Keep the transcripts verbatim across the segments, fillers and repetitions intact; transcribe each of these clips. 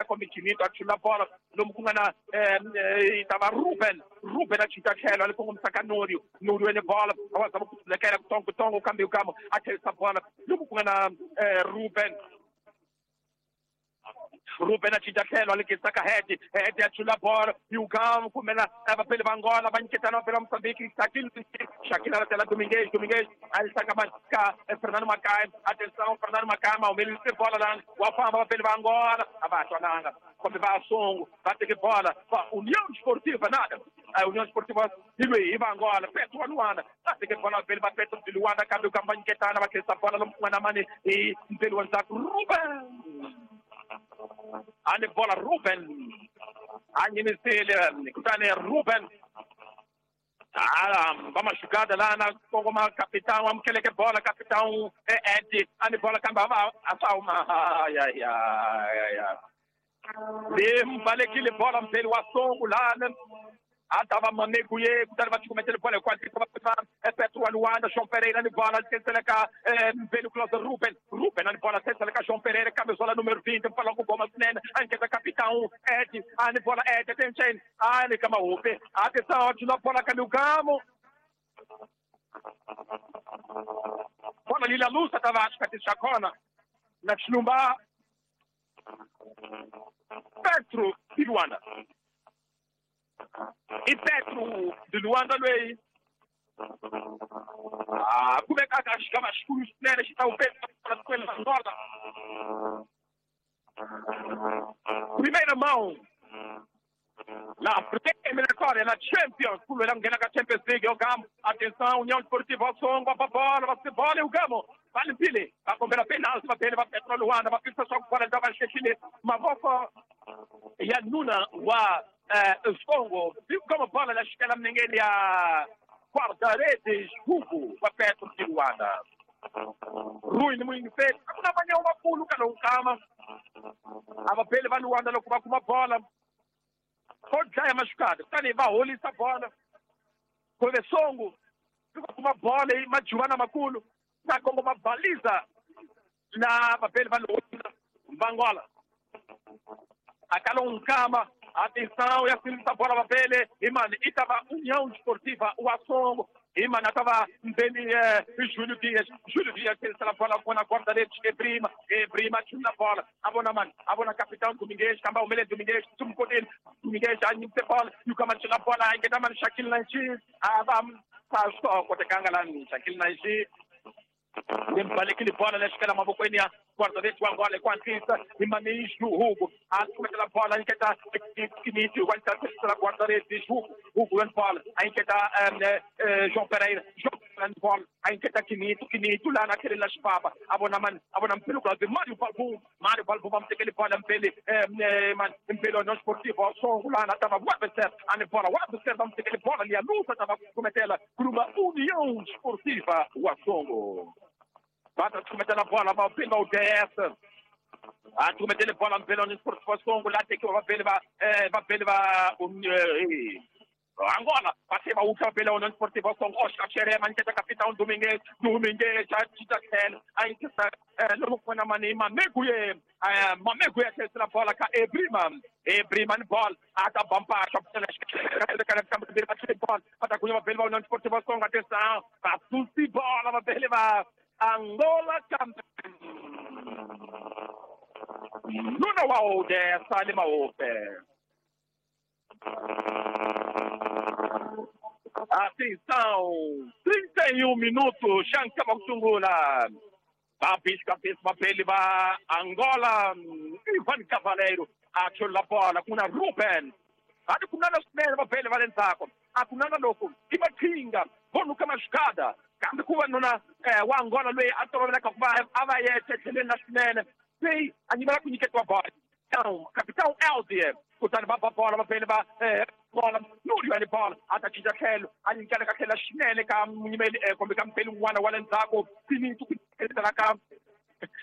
kombe Chinito a chula bola lomu ku nga na tava Ruben Ruben a cinca tlhelo a li kongomisa ka Nurio Nurio ni bola a wa zama ku tlulekela kutongo kutongo kambe Yukamo a tlherisa bola lomu ku nga na Ruben Ruben a cinca tlhelo a lekisa ka Hedi Hedi a chula bola Yukamo kumbe na vapeli va Angola va nyiketana vapeli va Mozambique Shakil Shakil a latela Dominguez Dominguez a yisa ka ka Fernando Makai atenção Fernando Makai ma humelelise bola lana wa famba vapeli va Angola a va ha twananga kumbe va Songo va teke bola va União Desportiva nada a União Desportiva hi lweyi hi va Angola Petro wa Luanda va teke bola vapeli va Petro de Luanda kambe Yukamo va nyiketana va tlherisa bola lomu ku nga na mani hi mpeli wa ndzhaku Ruben ani bola Ruben a nyimisile kutani Ruben ala va maxugada lana kongoma capitão amukeleke bola capitão Ed ani bola kambe a va a swa huma ya ya ya limbalekile bola mpeli wa Songo lana a ta va Mamego ye kutani va cukumetele bola hikwalaho va Petro wa Luanda João Pereira ni bola tlherisela ka Mpeli Klaus Ruben Ruben ani bola tlherisela ka João Pereira kambe zola número vinte mpala ku goma swinene a nyiketa capitão Ed ani bola Ed attention ani ka Mahupe atenção a bola ka Lugamo bola lila lusa ta va xikati xa kona na Xilumba Petro de Luanda i Petro de Luanda lweyi ah kumeka ka xigava xikulu swinene xi ta wu Petro tikweni ra Angola primeira mão na primeira eliminatória na Champions ku lwela ku nghena ka Champions League yo Gamo atenção União Desportiva Songo va bola va se bola o Gamo va limpile va kombela penalty va bele va Petro Luanda va pisa swa ku bola ta va xexile mavoko ya nuna wa Songo kama bola la xikela minengeni ya guarda-redes Hugo wa Petro de Luanda Rui ni muyingiseli a ku na vanyawu vakulu ka lowu nkama a va beli va Luanda loko va kuma bola ko dlaya maxukada kutani va holisa bola kumbe Songo loko va kuma bola hi majuvana makulu na kongoma baliza na vapeli va Luanda va Angola akalo nkama atenção ya silisa bola vapele imani itava União Desportiva wa Songo imani atava mbeni eh, Júlio Dias Júlio Dias silisa bola kona guarda-redes Ebrima Ebrima chuna bola abona mani abona capitão Domingues kamba umele Domingues tumkodeni Domingues anyimse bola yukama chuna bola ingeta mani Shakil Nanchi aba pasco kotekanga lani Shakil Nanchi limbalekile bola lexikela mavokweni ya guarda-redes wa Angola ekwantisa imani Hugo a bola inketa Kiniti wa guarda-redes Hugo Hugo en bola a inketa João Pereira João Pereira bola a inketa Kinito Kinito lá naquele la Xipapa abona man abona mpelo kwa Mário Balbum Mário Balbum vamos ter aquele bola mpele man mpelo no Esportivo Songo lá na tava Webster a bola Webster vamos ter aquele bola ali a luta tava cometela por uma União Esportiva o Songo Bata cometendo a bola, vai pelo D S. A cometendo a bola pelo Esportivo Songo lá tem que vai pelo vai pelo Angola, passei a última pela União Esportiva Songo, Oscar Xerema, que é capitão Domingues, Domingues, já está aí que está, não foi na mani, Mameguye, Mameguye que está na bola, cá Ebrima, Ebrima bola, ata bampa, para com a pela União Esportiva Songo, atenção, para bola, vai pela Angola campeão. Nuna wa dessa lima ope. Atenção, trinta e um minutos, Xancama Sungula. Babis cabeça papel va Angola, Ivan Cavaleiro, achou la bola com a Ruben. Adi kunana smele papel valentako. Akunana loko, imatinga, bonuka mashkada. Kambe kuva nuna eh, wa Angola lweyi a toloveleka ku va a va yexe tlheleni na swinene se a nyimela ku nyiketiwa bola capitão Eldier kutani va ba bola va vele va bola Núrio ali bola a ta cinca tlhelo a nyikela ka tlhela swinene ka munyimeli kumbe ka mpeli un'wana wa le ndzhaku Finito ku tlherisela ka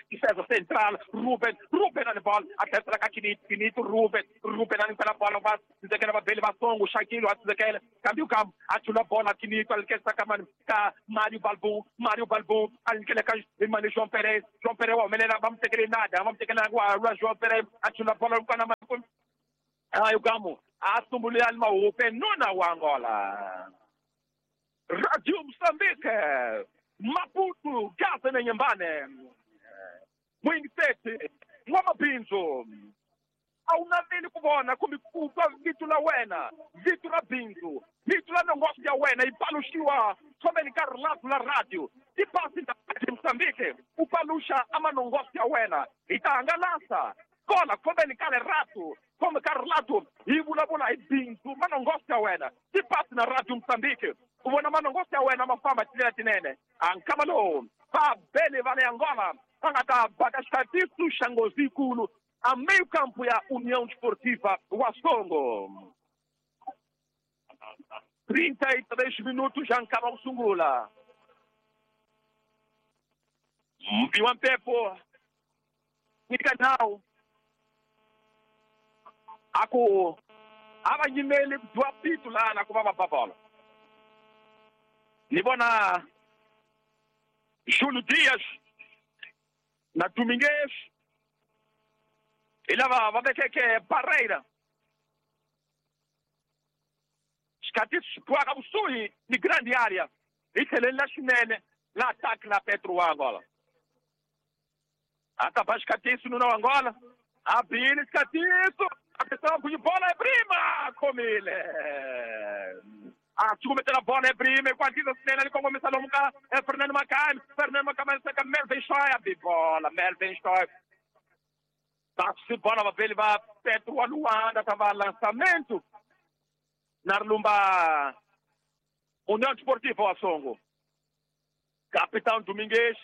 defesa central Ruben Ruben ali bola a tlherisela ka Kinito Kinito Ruben Ruben a nyikela bola va tsindzekela vabeli va Songo Shakilo a tsindzekela kambe ukambo a chula bola Kinito a likesa ka mani ka Mário Balbum Mário Balbum a nyikela ka mani João Pereira João Pereira wa humelela va mu tekele nada va mu tekele wa wa João Pereira a chula bola kana Ayo gamu asumbulea maupe nuna wa Angola. Radio Mozambique, Maputo, Gaza na Nyambane. Mwingisete, Mwamabinzo. A wu naveli ku vona kumbe ku twa vito la wena, vito ra bindzu, vito la nongoxo ya wena yi paluxiwa thomeni ka rilaphu la radio. Tipasi ta Radio Mozambique u paluxa a manongoxo ya wena hi ta hangalasa kona khomeni ka leratu khome ka rilatu hi vulavula hi bindzu manongoxo ya wena. Tipasi na Radio Mozambique u vona manongoxo ya wena ma famba tindlela tinene. A nkama lowu va bele va le Angola va nga ta baka xikatiso xa nghozi yikulu a meio campo ya União Desportiva Wasongo. trinta e três minutos já acaba o sungula. Mpiwa mpepo nikanao aku ava nyimeli kudwa pitu lana kuva va bola. Ni vona Júlio Dias na Domingues hi lava va vekeke barreira. Xikhatisi xi bohaka kusuhi ni grande area hi tlheleni la xinene la attaque la Petro wa Angola. A ta ba xikhatisi nuna wa Angola a bile xikhatisi atenção ku bola é prima khomile a cukumetela bola é prima ku hatlisa swinene ali kongomisa lomu ka Fernando Macami. Fernando Macami seka Melvin Shoy a bi bola Melvin Shoy Taxi bola vapeli va Petro wa Luanda tava lançamento na Lumba União Desportiva Wasongo. Capitão Domingues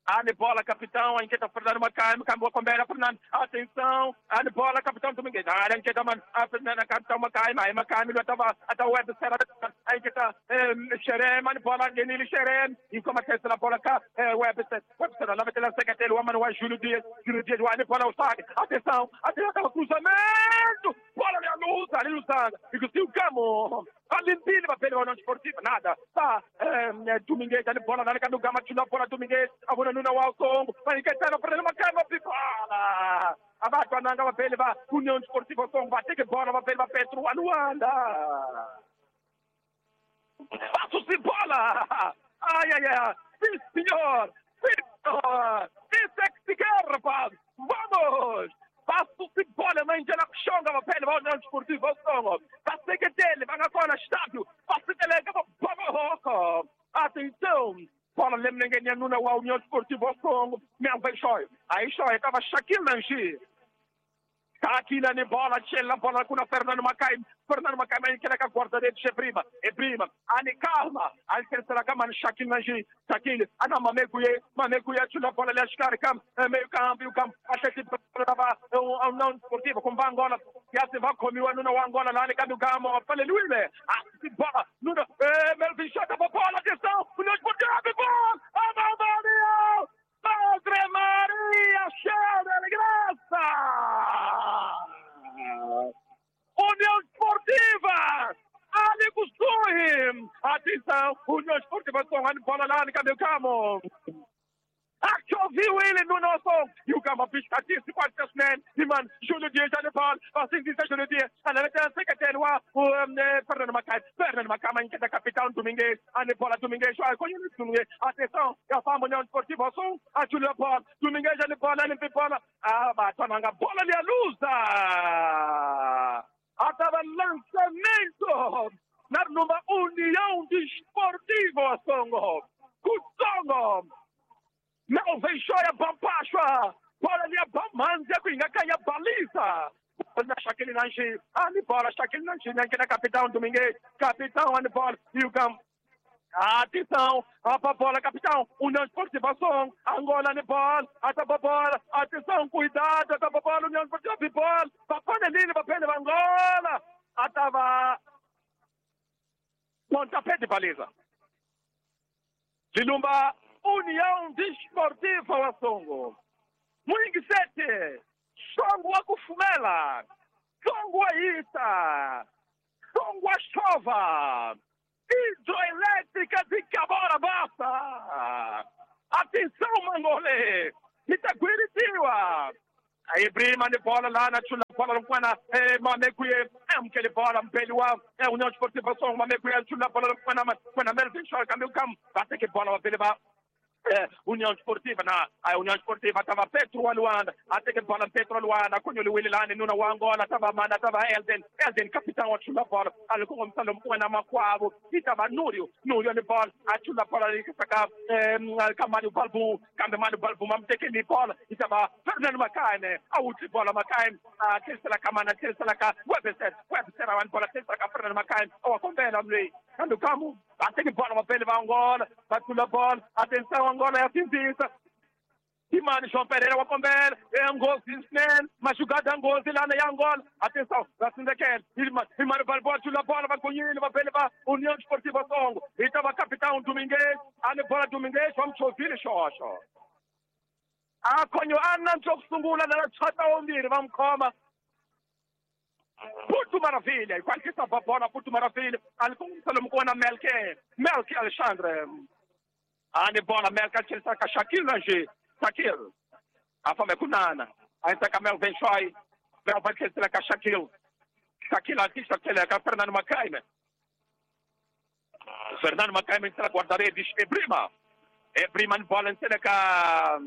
Ane bola, capitão, a inquieta Fernando Macami, cambou com Bela Fernando, atenção, ane bola, capitão Domingues, a inquieta man, a Fernando, capitão Macami, aí Macami, estava até o Web, a inquieta Xerém, ane bola, Genili Xerém, e como a bola cá, Web, Web, lá vai ter a secretária, o Manoel Júlio Dias, Júlio Dias, ane bola, o saque, atenção, atenção, cruzamento, bola ali a luz, ali Lusanga, e o Camo, a limpilha, papel, União Desportiva, nada, tá, Domingues, ane bola, na do Gama, tira a bola, Domingues, a bola nuna wa Songo, vai encaixar para uma cama pipola. A vaca nanga vai va União Desportiva Songo, vai ter que bola, vai vai Petro Luanda. Passo de bola. Ai ai ai. Sim senhor. Sim senhor. Isso é que se quer, rapaz. Vamos. Passo de bola, mãe, já na chonga, vai vai União Desportiva Songo. Vai ser que dele, vai agora estádio. Passo de lega, vamos. Atenção. Bola lemnengenya nuna wa União Desportiva Songo, Melvin Shoy. Aí Shoy tava Shaquille Nanji. Aqui na bola, chela bola com Fernando Macai. Fernando Macai mas que era guarda dele, é prima, é prima. Ani calma, ali terceira cama Shaquille Nanji, Shaquille, ana mameguye, mameguye chula bola ali acho cam, meio campo, campo, até que tava um União Desportiva com Angola, ya se va comiwa nuna wa Angola lá ni kambi kama pale luile. Ah, bola, nuna, eh Melvin Shoy tava bola, atenção, União Desportiva, bola. A Madre Maria, cheia de graça! União Desportiva! Ali Gusui! Atenção! União Desportiva, bola lá, cadê o Camo? Viu ele no nosso e o Gama piscadinho, cinquenta e mano, Júlio Dias já bola, assim diz Júlio Dias, a secretário, o Fernando Macai, Fernando Macai, que é capitão Domingues, a bola Domingues, Domingues, atenção, é a fama União Desportiva, som, a Júlio bola, Domingues já bola, limpa bola, a batonanga, bola ali a luza, a lançamento, na numa União Desportiva, Songo, Kutsongo. Melvin Shoya Bampashwa, bola ali a Bamanzia, Kuinga Kaya baliza. Na Shaquille Nanji, ali bola, Shaquille Nanji, que é capitão Domingues, capitão, ali bola, e o Gam. Atenção, a bola, capitão, União Desportiva Som, Angola, bola, a bola, atenção, cuidado, a bola, União Desportiva, bola, Papanelini, papel, Angola, a tava pontapé de baliza. Lilumba. União Desportiva Wasongo. Mwingisete, Songo wa kufumela, Songo wa ita, Songo wa chova, hidroelétrica de Cabora Bassa. Atenção, Mangolê, Itaguiritiwa. Aí, prima de bola lá na Chula bola lomfana Mamekuye amukele bola mbeli wa União Desportiva Songo Mamekuye chula bola lomfana kwana Melvin Shaw kambe kam va teke bola va bele va União Desportiva na a União Desportiva tava Petro Luanda até que bola Petro Luanda konyoliwile lani nuna wa Angola tava mana tava Elden Elden capitão achula bola alikongomisana mwana makwavo itava Núrio Núrio ni bola achula bola likisaka kamani Balbu kambe mani Balbu mamtekeli bola itava Fernando Makaine awuthi bola Makaine athesela kamana athesela ka Webster Webster awani bola athesela ka Fernando Makaine awakombela mle kambe kamu ateke bola mapele va Angola bathula bola atenção Angola ya sindzisa Imani João Pereira wa kombela nghozi swinene maxugada nghozi lana ya Angola atenção va sindzekela Imani Balboa chula bola va gonyile va bele va União Desportiva Songo hi ta va capitão Domingues ani bola Domingues va mchovile xoxo a khonyo a nantswo ku sungula na chata wombirhi va mkhoma Porto Maravilha, qualquer bola Porto Maravilha, ali com o kona Melke, Melke Alexandre. Ani bola Melke Alexandre ka Shaquille Lange, Shaquille. A fama kunana. Aí tá Melvin Choi, Melvin Choi ka Shaquille. Shaquille artista ka Fernando Macaime. Fernando Macaime entra guarda-redes e Brima. E Brima bola entra ka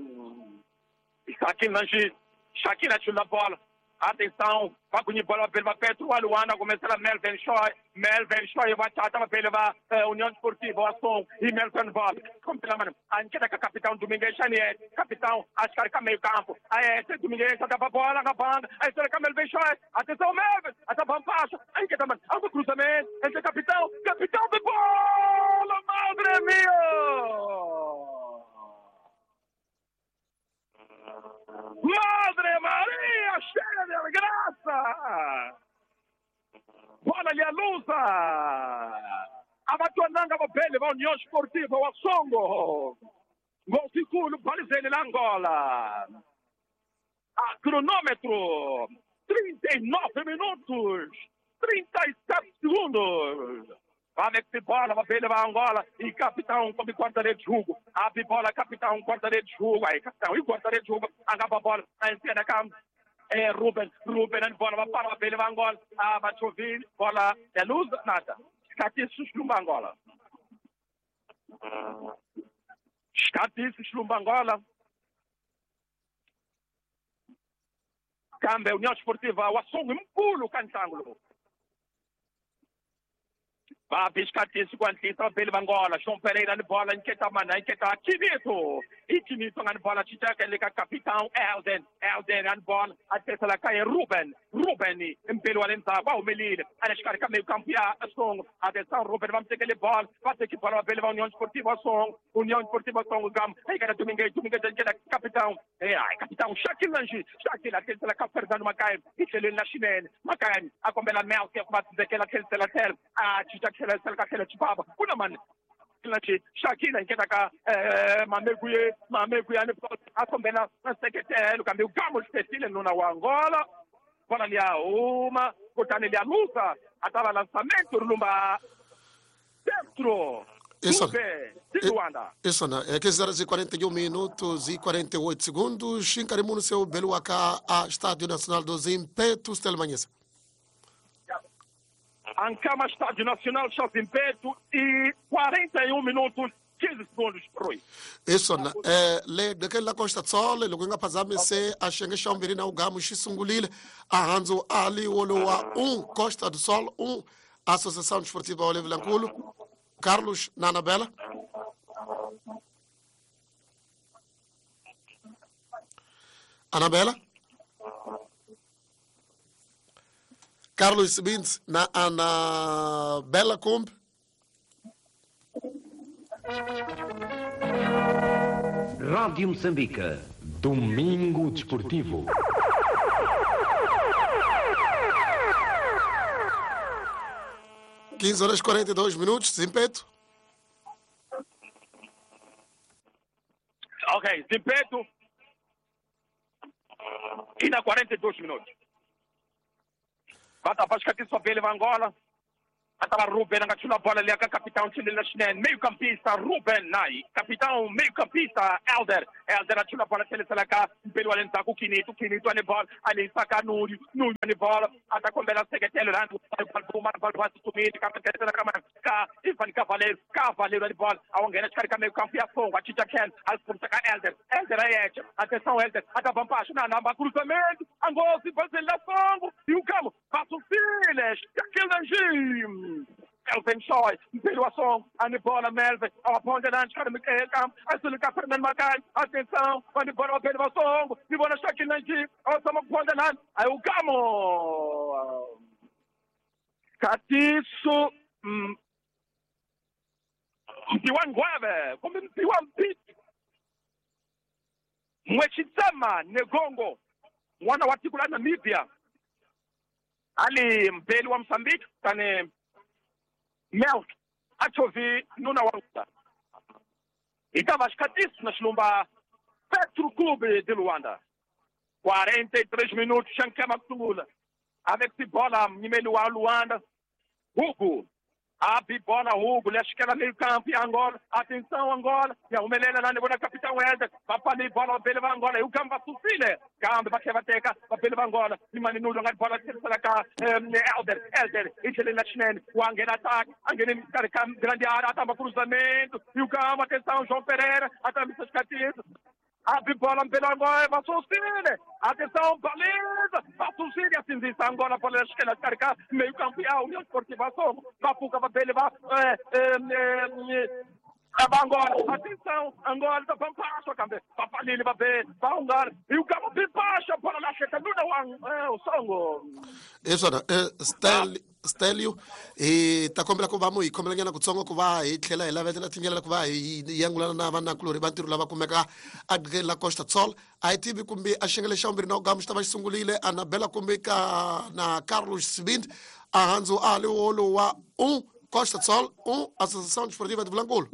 Shaquille Lange, Shaquille achula bola. Atenção, vai com bola pela Petro Luanda, começa a Melvin Choi, Melvin Choi vai tata pela União Desportiva, Asson e Melvin bola. Como pela mano, a que capitão Domingues Chanier, capitão, acho que é meio campo. Aí esse Domingues tá a bola na banda, aí será que Melvin Choi, atenção Melvin, até passo, aí que tá mano, algo cruzamento, esse capitão, capitão de bola, madre mia! Madre Maria, cheia de graça! Bola ali a luza! Abatonanga bapele va União Esportiva wa Songo. Gol balizele la Angola. A cronômetro, trinta e nove minutos, trinta e sete segundos. Vai que bola, vai va Angola e capitão come guarda-redes Hugo. Abre bola, capitão, guarda-redes Hugo. Aí, capitão e guarda-redes Hugo. Acaba a bola, na esquerda, cá. É Ruben, Ruben, a bola, vai para a va Angola. Ah, vai chover, bola, é luz, nada. Escatice, Slumba Angola. Escatice, Slumba Angola. Cambe, União Esportiva, o Assongo, um pulo, cantangulo. Va biscatisi kwantisa bele Angola João Pereira ni bola nketa mana nketa Kinito e Kinito ngani bola chitaka leka capitão Elden Elden ngani bola atesela ka Ruben Ruben impelo wa lenza ba umelile aleshikari ka meio campo ya Songo atenção Ruben vamos ter aquele bola vai ter que bola bele va União Esportiva Songo União Esportiva Songo gam aí cara Domingues Domingues nketa capitão é ai capitão Shaquille Lange Shaquille atesela ka Fernando Macaim e na Chinene Macaim a kombela Melke va tsekela tsekela tsekela a chitaka Sela Chibaba, kuna man, Shakina nketa Mamekuye, Mamekuye akombela sekretelo kambe ugamo sesile nuna wa Angola, bola lia uma, kutani lia lusa, atava lançamento lumba dentro. Isso, isso não. É quinze horas e quarenta e um minutos e quarenta e oito segundos. Xincarimo no seu Beluaca, a Estádio Nacional dos Impetos, Telmanhesa. Ancama Estádio Nacional Zimpeto e quarenta e um minutos quinze segundos Rui. Isso na eh le daquela Costa Sol loko nga phazamise a xenge xa vumbirhi na ugamu xi sungulile a handzo ali wolowa um Costa do Sol um Associação Desportiva Olive Lanculo Carlos Nanabela Anabela Carlos Sibins na Anabela Kumb. Rádio Moçambique. Domingo Desportivo. quinze horas e quarenta e dois minutos, Zimpeto. Ok, Zimpeto. E na quarenta e dois minutos. Bata Vasco aqui só pele Angola. A tava Ruben a nga chula bola leya ka capitão Chilela Xinene, meio campista Ruben Nai, capitão meio campista Elder, Elder a chula bola tlhelisela ka mpeli wa le ndzhaku Kinito, Kinito a ni bola a lehisa ka Nuyu, Nuyu a ni bola a ta kombela nseketelo laha va tsutsumile kambe tlhelisela ka ka Ivan Cavaleiro, Cavaleiro a ni bola a wu nghena xikarhi ka meio campo ya Songo, a cinca tlhelo a khomisa ka Elder, Elder a yexe, atenção Elder, a ta ba mpaxo na namba cruzamento, a nghozi bazeni la Songo, e o Gamo va susile, Shaquille Najim. Melvin Choi, mpeli wa Songo, a ni bola Melvin, a wa phonda la xikarhi ka a sulu ka Fernando Makai, atenção, a ni bola vapeli va Songo, ni vona Shaquille Najim, a wa tshama ku phonda lani, a yi Gamo. Katiso Mpiwa Ngweve, kumbe Mpiwa Mpiti. Mwechitsema Negongo, n'wana wa tiko la Namibia, ali mpeli wa Mozambique, tani Melk achovi nuna wa Luanda. Itava xikatiso na xilumba Petro Clube de Luanda. quarenta e três minutos, xankema kusungula. Avec bola mnyimeli wa Luanda, Hugo. Abi bola Hugo, lexikela meio campo ya Angola. Atenção Angola, ya humelela lani vona capitão Helder. Vapali bola vapele va Angola, e o Gamba susile. Kambe va tlhela va teka vapele va Angola. Imani Nulo nga bola tlherisela ka Helder, Helder i tlhelela xinene, wa nghena attack, a nghene xikarhi ka grande área, a tamba cruzamento. E o Gamba, atenção João Pereira, a tambisa xikatiso. Abre bola pela Angola, va susile. Atenção, baliza, va susile, asinzisa Angola, bola esquerda, carca, meio campo, a União Esportiva Songo, va fuga, va pele, va, va Angola, atenção, Angola, tá pampacha, campe, va palile, va be, va Angola, e o Gamo pimpacha, bola na cheta, nuna o Songo. Isso, Stel, Stelio, e ta kombela ku va mu hi khomelanyana kutsongo ku va hi tlhela hi lavetela tindlela ku va hi yangulana na vanakulorhi va ntirho lava kumeka a la Costa Sol. A hi tivi kumbe a xengele xa vumbirhi na ugamu xi ta va xi sungurile Anabela kumbe ka na Carlos Sibindi a handzu a li wolo wa um Costa Sol um Associação Desportiva de Vilanculo.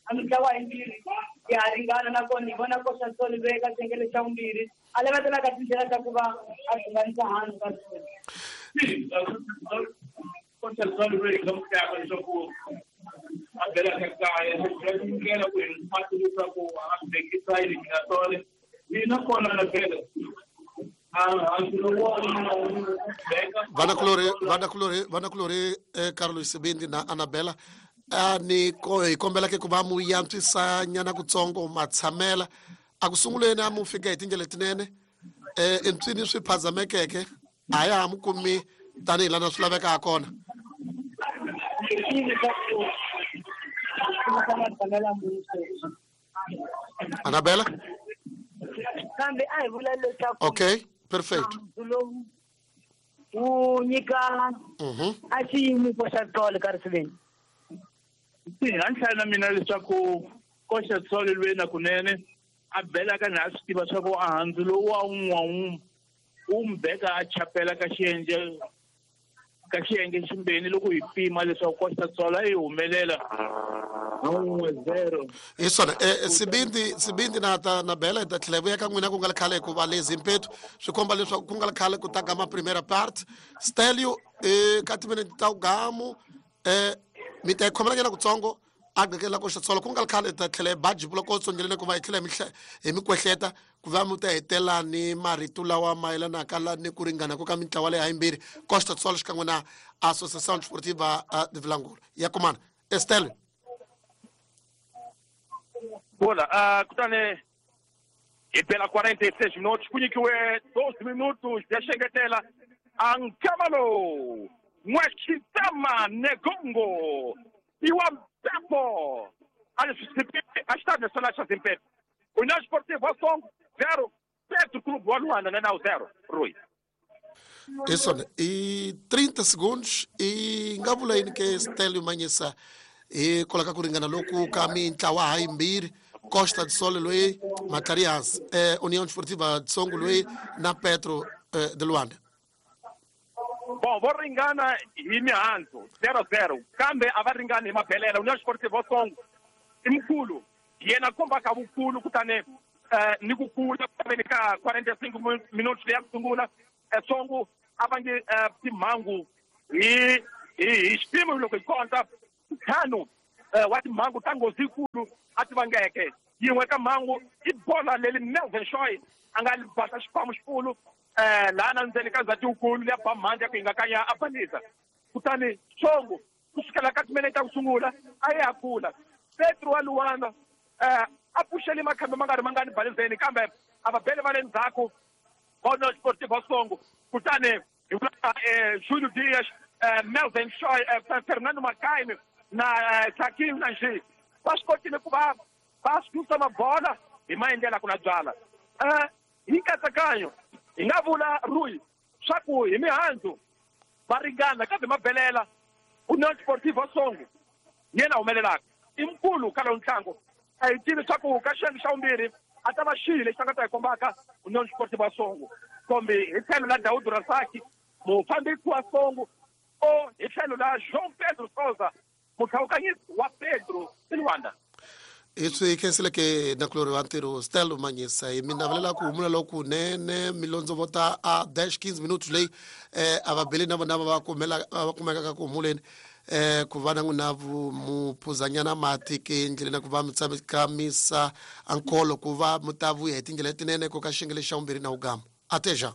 A mitlawa yimbirhi ya ringana nakona hi vona Costa Sol loyi eka xengele xa vumbirhi a lavetela ka tindlela ta ku va a hlanganisa handle ka swona. Costa Sol loyi nga mutaka leswaku a belaka kaya ndlela ku hi mati leswaku a vekisa eliminatory mina kona na bela vanakulorhi vanakulorhi vanakulorhi Carlos Sibindi na Anabela a ni ko hi kombela ke ku va mu yantswisa nyana kutsongo matshamela a ku sunguleni a mu fika hi tindlela letinene eh entswini swi phazamekeke a ya ha mu kumi tanihi lana swi laveka ha kona. Anabela kambe a hi vula leswaku okay perfect wu nyika a xiyimo xa tolo ka risiveni. A ni hlaya na mina leswaku Costa Sol loyi na kunene a belaka na a swi tiva swa ku a handzu lowu wa wun'wa wu wu n'wi beka a chapela ka xiyenge ka xiyenge ximbeni loko hi pima leswaku Costa Sol a yi humelela un'we zero. Hi swona Sibindi Sibindi na ta na Bela hi ta tlhela hi vuya ka n'wina ku nga ri khale hikuva lezi mpethu swi komba leswaku ku nga ri khale ku ta gama primera part. Stelio ka timinete ta ugamu eh mi ta hi khomelanyana kutsongo a gqekela Costa Sol ku nga ri khale ta tlhela hi baji loko tsongeleni ku va hi tlhela hi mi kwehleta ku va mi ta hetela ni marito lawa mayelanaka la ni ku ringana ku ka mintlawa leyi hayimbirhi Costa Sol xikan'we na Associação Desportiva de Vilanculo ya kumana Estelle. Bola, uh, kutani hi bela quarenta e seis minutos ku nyikiwe doze minutos ya xengetela Ankamalo Mwechitama Negongo Iwa Mpepo a Estádio Nacional xa Zimpepo União Esportiva Songo zero Petro Clube wa Luanda na nao zero Rui. Isso, e trinta segundos e nga vula yini ke Stelio Manyisa hi kolaka ku ringana loku ka mintlawa hayimbirhi Costa do Sol loyi Matlarias eh, União Desportiva de Songo loyi na Petro eh, de Luanda. Bom, vo ringana hi mihandzu zero zero kambe a va ringani hi mabelela. União Esportiva Songo i mukulu yena kombaka vukulu kutani ni ku kula ku ka quarenta e cinco minutos leyi ya ku sungula. Songo a va nge timhangu hi hi hi xipimo loko hi konta ntlhanu wa timhangu ta nghozi yikulu a ti vangeke. Yin'we ka mhangu i bola leri Melvin Shoy a nga basa xipamu xikulu laha na ndzeni ka ndzhati wukulu leya ba mhandzi ya ku hingakanya a balisa. Kutani Songo ku sukela ka timinete ta ku sungula a ya kula. Petro wa Luanda a pfuxele makhambi ma nga ri mangani balizeni, kambe a va bele va le ndzhaku va União Esportiva Songo. Kutani hi vula Júlio Dias, Melvin Shoy, Fernando Macaime na Shaquille Nanji va swi kotile ku va va susa mabola hi maendlelo ku na byala. Hi nkatsakanyo hi nga vula Rui swa ku hi mihandzu va ringana, kambe mabelela União Esportiva Songo yena humelelaka i mukulu ka lowu ntlangu. A hi tivi swa ku ka xiyenge xa vumbirhi a ta va xihi lexi a nga ta hi kombaka União Esportiva Songo, kumbe hi tlhelo la Daud Rasaki mufambisi wa Songo o hi tlhelo la João Pedro Souza muhlawukanyisi wa Pedro Silwanda. Hi swi khenseleke nakulorhi wa ntirho Stelo Manyisa. Hi mi navelela ku humula lokunene milondzovota a dash quinze minutos leyi eh a va beli na vona va kumela va kumekaka ku humuleni eh ku va na n'wina muphuzanyana mati ke endleleni ku va mi tsakamisa ankolo ku va mi ta vuya hi tindlela letinene ko ka xiyenge xa vumbirhi na wugama. Até já.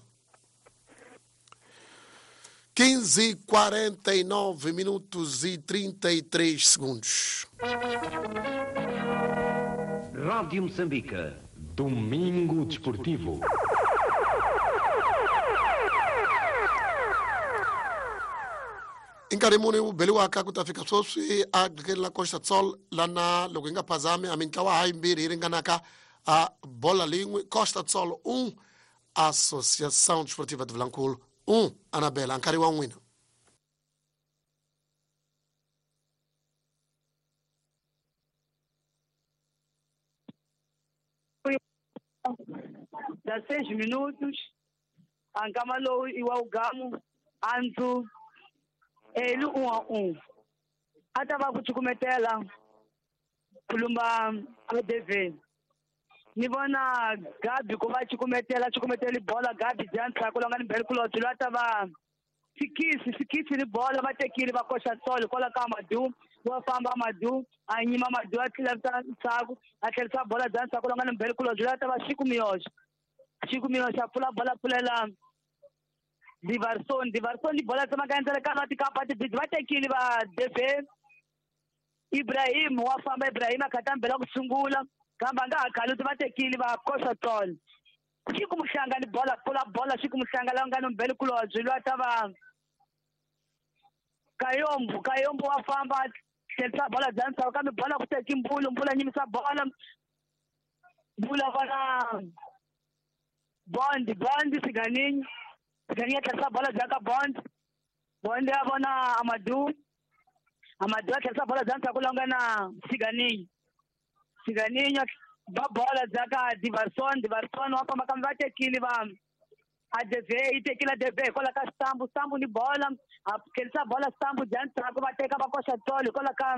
quinze e quarenta e nove minutos e trinta e três segundos. Rádio Moçambique. Domingo Desportivo. I nkarhi muni wu beliwaka ku ta fika sweswi a la Costa Sol lana loko hi nga phazami a mintlawa ha yimbirhi yi ringanaka a bola lin'we. Costa Sol um, Associação Desportiva de Vilankulo um. Anabela, nkarhi wa n'wina. Dezesseis minutos ankama lowu i wa ugamu antsu elu um a um a ta va ku cukumetela ku lumba A D V. Ni vona Gabi ku va cukumetela cukumeteli bola Gabi Jansa ku longa ni bele kulotsi lwa ta va Sikisi Sikisi ni bola va tekile va koxa tsolo kwala ka Madu wa famba Madu a nyima Madu a tlhela ndzhaku a tlherisa bola Jansa ku longa ni bele kulotsi lwa ta va Xiku Miyoxo Xiku Miyoxo a pfula bola pfulela Divarson Divarson ni bola tsemaka endzele ka va tikapa tibidi va tekile va D V. Ibrahim wa famba Ibrahim a khatambela ku sungula kambe a nga ha khaluti va tekile va koxa tsolo. Xiku Muhlanga ni bola pfula bola Xiku Muhlanga la nga ni mbele kulobye lwa ta va Kayombo Kayombo wa famba tlherisa bola bya ndzhaku kambe bola ku teki Mbulu Mbulu a nyimisa bola Mbulu a vona Bond Bond Siganinyi Siganinyi a tlherisa bola bya ka Bond Bond a vona Amadou Amadou a tlherisa bola bya ndzhaku la nga na Siganinyi Siganinyi ba bola bya ka Divarson Divarson wa famba kambe va tekile va A D V yi tekile A D V hikwalaho ka Stambu Stambu ni bola a tlherisa bola Stambu bya ndzhaku va teka va koxa tsolo hikwalaho ka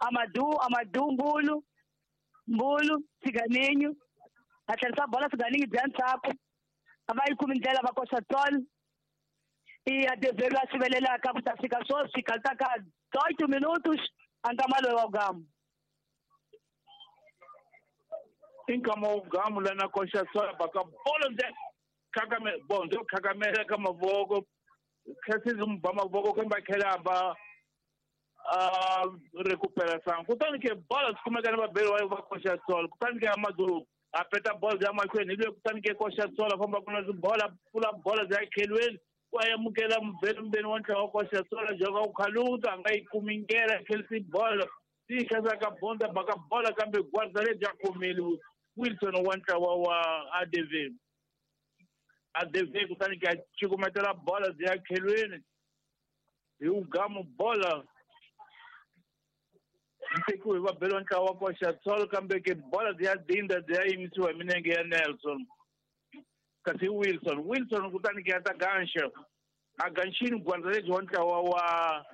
Amadou Amadou Mbulu Mbulu Siganinyi a tlherisa bola Siganinyi bya ndzhaku a va yi kumi ndlela va koxa tsolo. I A D V lwa sivelelaka ku ta fika sweswi khalutaka oito minutos a nkama loyi wa ugamu. I nkama wa ugamu lana koxa tsolo baka bola nde khakamela bon ndzo khakamela ka mavoko khasizi mu ba mavoko kambe a tlhela a ba a recupera sangu kutani ke bola swi kumeka ni vabeli wa va koxa tsolo kutani ke Amadou a peta bola bya mahlweni hi le kutani ke koxa tsolo a famba ku na bola pfula bola bya khelweni wa amukela mubeli mbeni wa ntlawa wa koxa tsolo joka ku khaluta a nga yi kumi ndlela khelisi bola ti khasaka bonda baka bola kambe gwarza lebyi a khomile Wilson wa ntlawa wa A D V A D V kutani ke a cukumetela bola bya khelweni hi ugamu bola yi tekiwe hi vabeli wa ntlawa wa koxa tsolo kambe ke bola bya dinda bya yimisiwa hi minenge ya Nelson kasi Wilson Wilson kutani ke a ta ganxa a ganxini gwarza lebyi wa ntlawa wa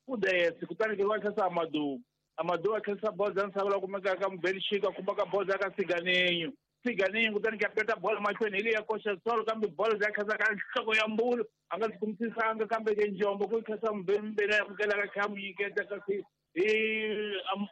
U D S kutani ke va tlhesa Amadou Amadou a tlherisa bola bya misava la kumekaka ka mubeli Xika a kumaka bola ya ka Siganinyi Siganinho kutani ka peta bola mahlweni hi leyi ya Costa Sol kambe bola ya khasa ka nhloko ya Mbulu a nga kumisisanga kambe ke Njombo ku khasa mbembele ya mukelaka kha muyiketa kasi hi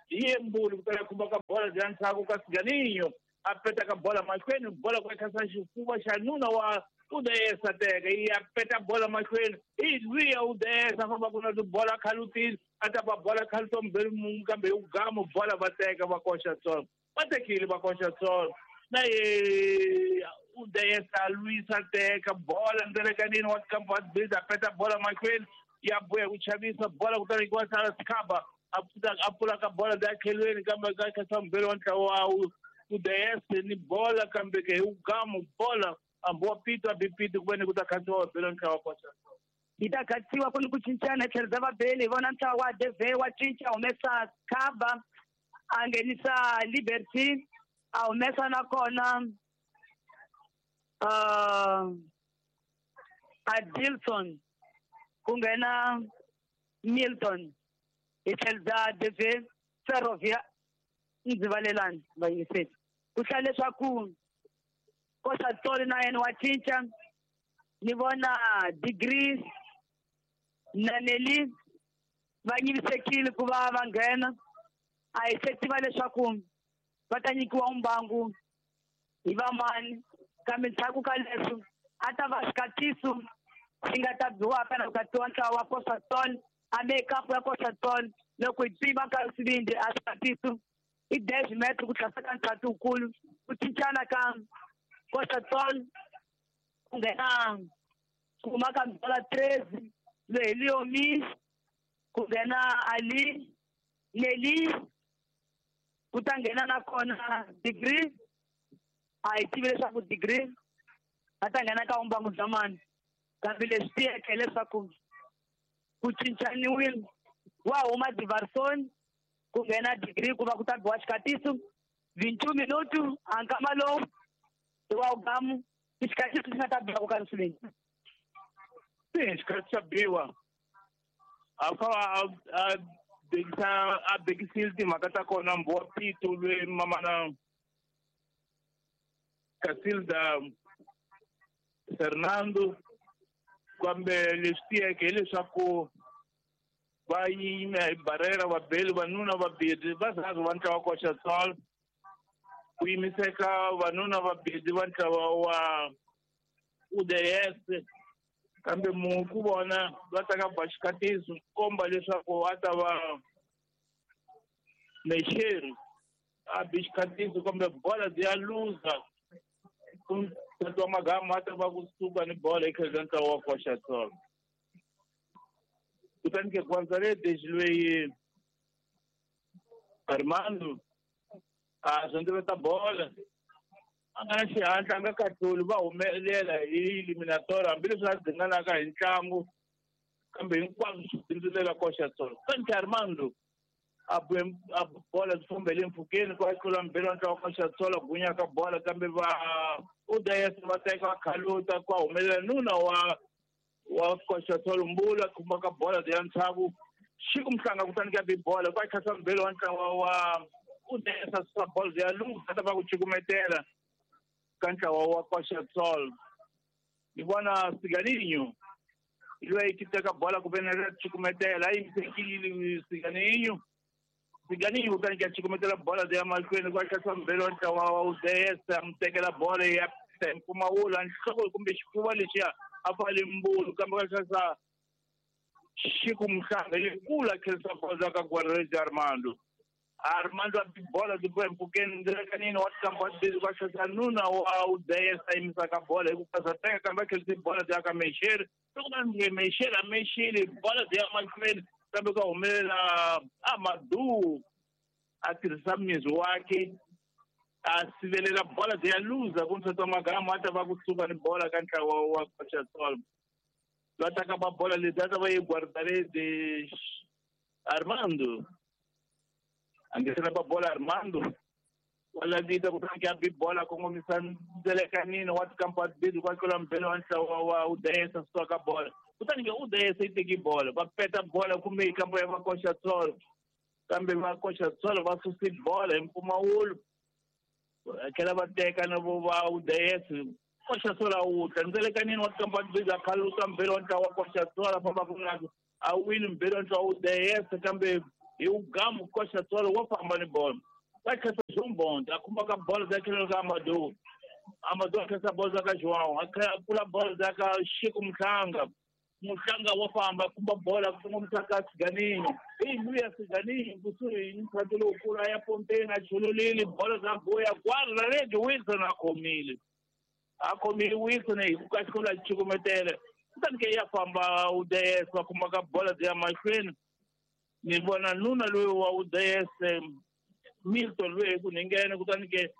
hi Mbulu kutani a khumba ka bola ya ndzhaku ka Siganinho a peta ka bola mahlweni bola ku khasa xifuva xa nuna wa Udesa teka ya peta bola mahlweni hi luya Udesa famba ku na tibola khalutile a ta ba bola khaluto mbele mungu kambe hi ugamu bola va teka va Costa Sol va tekile va Costa Sol na ye Udesa Luisa teka bola ndelekanini wa kampa biza peta bola mahlweni ya buya ku chavisa bola kutani ku sala Sikhaba a pfuta a pfula ka bola da khelweni kambe ka khasa mbele wa ntlawa wa Udesa ni bola kambe ke ugamu bola ambo pito a bipito ku veni ku ta khandziwa vabeli ntlawa wa Costa Sol yi ta khatsiwa ku ni ku cincana tlhelo bya vabeli hi vona ntlawa wa Deve wa cinca humesa Khaba a nghenisa Liberty a humesa nakona uh, Adilson ku nghena Milton hi tlhelo bya Deve Ferrovia ndzivalelani vayingiseli ku hlaya leswaku Costa Sol na yena wa cinca ni vona Degree na Nelly va nyivisekile ku va va nghena a hi se tiva leswaku va ta nyikiwa mbangu hi vamani kambe ndzhaku ka leswo a ta va xikatiso xi nga ta biwaka na ku katiwa ntlawa wa Costa Sol hambi kampu ya Costa Sol loko hi pima nkarhi swivindzi a xikatiso i dez metro ku tlhasa ka ntlhatu wukulu ku cincana ka Costa Sol ku nghena ku huma ka bola treze loyi hi Leomi ku nghena Ali Nelly ku ta nghena nakona Degree a hi tivi leswaku Degree a ta nghena ka vumbangu bya mani kambe leswi tiyeke leswaku ku cincaniwile wa huma Diverson ku nghena Degree ku va ku ta biwa xikatiso vintu minutu a nkama lowu i wa ugamu i xikatiso xi nga ta biwa ku ka nsiveni se xikatiso xa biwa a fa a bekisa a bekisile timhaka ta kona mbo pito lwe mamana Casilda Fernando kambe leswi tiyeke hileswaku va yime hi barera vabeli vanuna vabedi va zazi va ntlawa Costa Sol ku yimiseka vanuna vabedi va ntlawa wa U D S kambe mu ku vona va ta ka ba xikatiso komba leswaku a ta va Mexeri a bi xikatiso kambe bola ya luza ku twa magama a ta va kusuka ni bola etlhelo ntlawa wa Costa Sol kutani ke Gonzalez loyi Armando a zondzeveta bola a nga na xihatla a nga kahluli va humelela hi eliminator hambileswi a dzinganaka hi ntlangu kambe hinkwaswo swi bindzulela Costa Sol kutani ke Armando a a bola byi fambele mpfhukeni ku a tlula mbirhi wa ntlawa wa Costa Sol a gunyaka bola kambe va U D S va teka va khaluta ku a humelela nuna wa wa Costa Sol Mbulu a khumbaka bola ya ntshavu xi ku mhlanga kutani ka bi bola ku a khasa mbirhi wa ntlawa wa U D S a susa bola ya luza ta va ku cukumetela ka ntlawa wa Costa Sol ni vona Siganinho loyi ki teka bola ku veni ra cukumetela a yimisekile Siganinho Siganinho kutani ka cukumetela bola ya mahlweni ku a khasa mbirhi wa ntlawa wa U D S a mu tekela bola ya mpfumawulo a nhloko kumbe xifuva lexiya a fale Mbulu kambe ka khasa xi ku mhlanga yikulu a khensa bola ka Guarrejo Armando Armando a bola ti bola mpfhukeni ndzekanini wa tikamba wa ka khasa nuna wa U D S a yimisaka bola hi ku phasa teka kambe a khensa bola ya ka Mexeri loko va nge Mexeri a mexile bola ya mahlweni kambe ka humelela Amadou a tirhisa miri wakhe a sivelela bola ya luza ku ntsotso magama a ta va kusuka ni bola ka ntlawa wa Costa Sol va taka ba bola leti a ta va yi Guardarede Armando a ngesela ba bola Armando wa lavita kutani ke a bi bola kongomisa ndelekanini wa tikampa bidi kwa tlula mbele wa ntlawa wa U D S a suka ka bola kutani ke U D S yi teki bola va peta bola kumbe yi kambo ya va Costa Sol kambe va Costa Sol va susi bola hi mpfumawulo tlhela va teka na vo va U D S Costa Sol a wutla ndzelekanini wa tikampani biza khaluka mbirhi wa ntlawa wa Costa Sol a fambaka na a wini mbirhi wa ntlawa U D S kambe hi ugamu Costa Sol wa famba ni bolo va khensa João Bond a khumbaka bolo za tlhelo ka Amadou Amadou a khensa bolo za ka João a pfula bolo za ka Chico Mhlanga Mhlanga wa famba khumba bola kongomisa ka Siganinho i luya Siganinho kusuhi ni ntlhantlho lowukulu a ya pompeni a chululile bolo za boya guarda rede Wilson a khomile a khomile Wilson hi ku ka xikolo a cukumetele kutani ke ya famba U D S va khumbaka bola ya mahlweni ni vona nuna loyi wa U D S Milton loyi hi ku ninghena kutani ke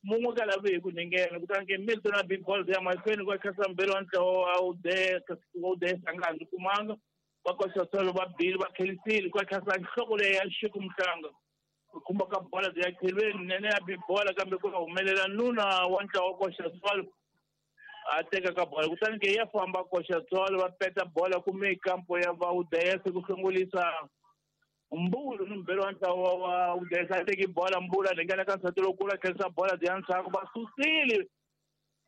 mun'we ka lava hi ku ninghena kutani ke Milton a bi bolo ya mahlweni ku khensa mbirhi wa ntlawa wa U D S U D S a nga ndzi kumanga va Costa Sol va bile va khelisile ku khensa nhloko leyi ya Chico Mhlanga ku khumba ka bola ya khelweni nene ya bi bola kambe ku humelela nuna wa ntlawa wa Costa Sol a teka ka bola kutani ke ya famba Costa Sol va peta bola kume kampo ya va U D S ku hlongolisa Mbulu ni mbirhi wa ntlawa wa U D S a teki bola Mbulu a ringana ka nsati lowukulu a khensa bola bya ndzhaku va susile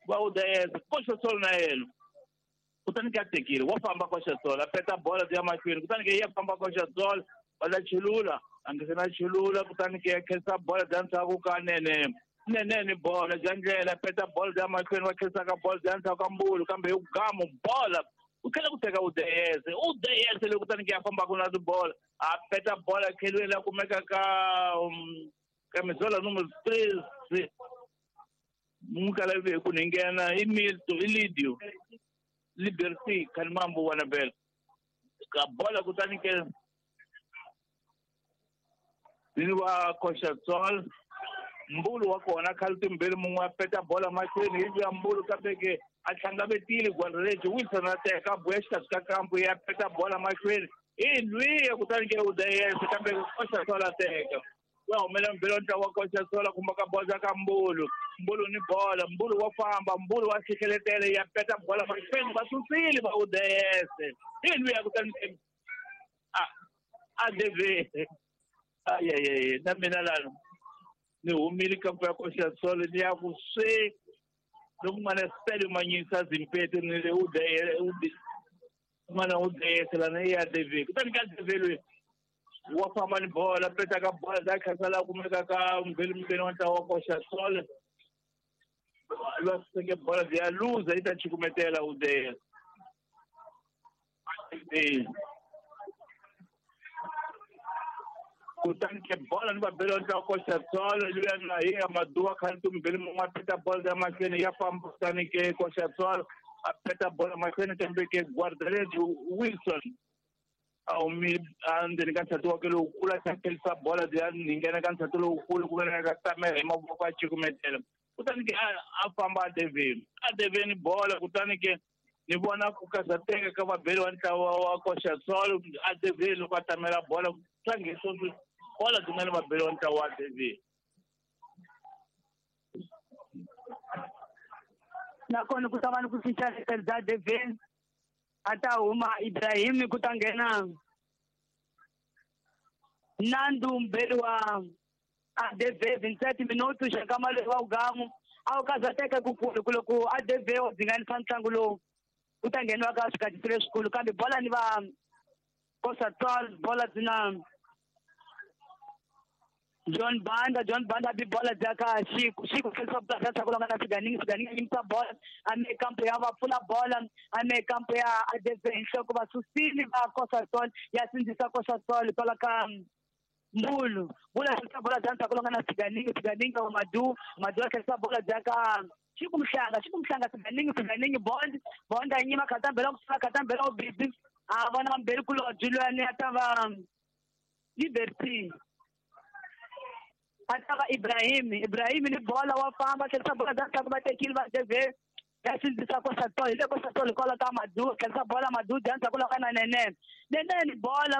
va U D S Costa Sol na yena kutani ke a tekile wa famba Costa Sol a peta bola bya mahlweni kutani ke ya famba Costa Sol va la chulula a nge se na chulula kutani ke ya khensa bola bya ndzhaku ka nene nene ni bola bya ndlela peta bola bya mahlweni va khensa ka bola bya ndzhaku ka Mbulu kambe hi gamu bola u tlhela ku teka U D S U D S leyi kutani ke ya fambaka na tibola a peta bola khelweni la kumeka ka ka mizola numero treze mukala ve ku ninghena i Milton i Lidio Liberty Khalimambo wa Nabel ka bola kutani ke ni wa Costa Sol Mbulu wa kona khale timbirhi mun'we a peta bola mahlweni hi ya Mbulu kambe ke a hlangavetile Guardereji Wilson a teka buya xikarhi ka kampu ya peta bola mahlweni i lwiya kutani ke U D S kambe Costa Sol a teka wa humela mbirhi wa ntlawa wa Costa Sol a khumba ka bola ka Mbulu Mbulu ni bola Mbulu wa famba Mbulu wa xihleletele ya peta bola mahlweni va susile va U D S i lwiya kutani ke a a D V ayayay na mina lano ni humile kampo ya Costa Sol ni ya ku swe loko n'wana Stelio Manyisa Zimpete ni le U D S n'wana U D S lana i ya D V kutani ka D V loyi wa famba ni bola peta ka bola za khensa la kumeka ka mbirhi mbirhi wa ntlawa wa Costa Sol va seke bola ya luza yi ta cukumetela U D S kutani ke bola ni vabeli wa ntlawa Costa Sol luya na hi Amadou a khale timbirhi mun'we a peta bola ya mahlweni ya famba kutani ke Costa Sol a peta bola mahlweni kambe ke Guardereji Wilson a humile endzeni ka nsati wakwe lowukulu a tlherisa bola ya ninghena ka nsati lowukulu ku ve ka tamela hi mavoko a cukumetela kutani ke a famba a deveni a deveni bola kutani ke ni vona ku karhateka ka vabeli wa ntlawa wa Costa Sol a deveni loko a tamela bola tlangiso bola byi nga ni vabeli wa ntlawa wa deveni nakona ku ta va ni ku cinca bya deveni a ta huma Ibrahim ku ta nghena Nandu mbirhi wa A D V vintsete minutos xa nkama lowu wa ugamu a wu karhateka kukulu ku loko A D V wa dzinganisa ntlangu lowu ku ta ngheniwa ka swikatiso leswikulu kambe bola ni va Costa Sol bola byi na John Banda John Banda bi bola bya ka Chico Chico tlherisa bola bya ndzhaku longa na Siganingi Siganingi a yimisa bola a me kampo ya va pfula bola a me kampo ya A D V hi nhloko va susile va Costa Sol ya sindzisa Costa Sol kwala ka Mbulu Mbulu a tlherisa bola bya ndzhaku longa na Siganingi Siganingi wa Madu Madu a tlherisa bola bya ka Chico Mhlanga Chico Mhlanga Siganingi Siganingi Bond Bond a nyima khatambela ku sula khatambela u bibi a vona mbirhi kulobye luyani a ta va Liberty a ta va Ibrahim Ibrahim ni bola wa famba tlherisa bola bya ndzhaku va tekile va D V ya sindzisa Costa Sol hi le Costa Sol hikwalaho ka Madu tlherisa bola Madu bya ndzhaku loko na Nene Nene ni bola